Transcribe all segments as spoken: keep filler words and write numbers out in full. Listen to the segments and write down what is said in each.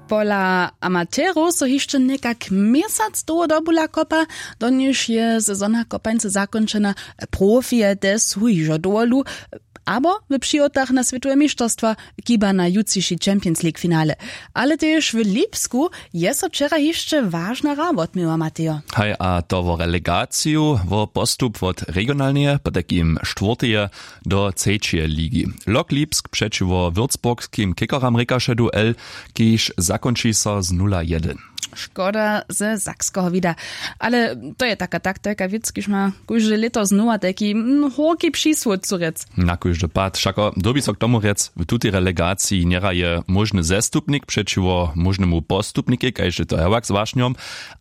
Pola amaterow so hišće někak měsac dołho dobula kopa, do něž je sezona kopańcy zakónčena. Profije te su hižo dowolu, abo w přihotach na swětowe mišterstwa, kiba na jutřiši champions league finale. Ale tež w lipsku je so wčera hišće wažna hra wotměła, matejo. Haj, a to wo relegaciju, wo postup wot regionalneje potajkim štwórteje do třećeje ligi. Lok lipsk přećiwo würzburgskim kickeram rěkaše duel, kiž zakónči so z nula jedyn. Škoda ze sakskeho wida. Ale to je taka taktajka wěc, kiž ma kóžde lěto znowa tajki mm, hórki přisłódcu rěc. Na kóždy pad wšako dyrbi so k tomu rjec, w tutej relegaciji njehraje móžny zestupnik přećiwo móžnemu postupnikej, kaž je to hewak z wašnjom,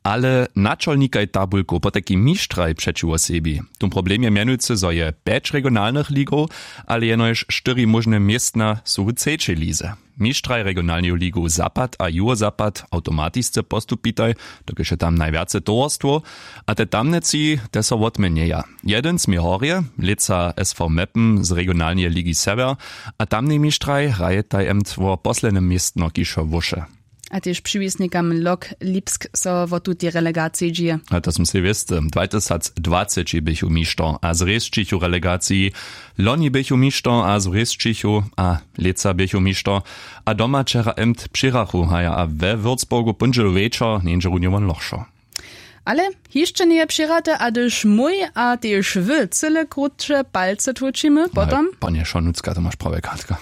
ale načolnikaj tabulkow potajki mištraj přećiwo sebi. Tón problem je mjenujcy, zo je pjeć regionalnych ligow, ale jenož štyri móžne městna su w třećej lize. Mištraj regionalneju ligow zapad a juhozapad awtomatisce postupitaj, dokelž je tam najwjace towarstwow. A te tamne tři, te so wotměnjeja. Jedyn směr horje, lětsa sv meppen z regionalneje ligi sewjer. A tamnej mištraj hrajetaj emt wo posledne městno kiž so wóše. A tež přiwisnikam lok lipsk so wo tutej relegaciji dźije. A to sym sej wěsty, dwatysacdwaceći běchu mišto a zrěsćichu relegaciji. Loni běchu mišto a zrěsćichu a lětsa běchu mišto. A doma wčera emt přěrachu haja a we würzburgu póndźelu wječor njeńdźe runje won lochšo. Ale hišće njeje přěhrate, a hdyž mój a tež wy cyle krótše palce tłóčimy potom. Panje šonucka, to maš prawje kartka.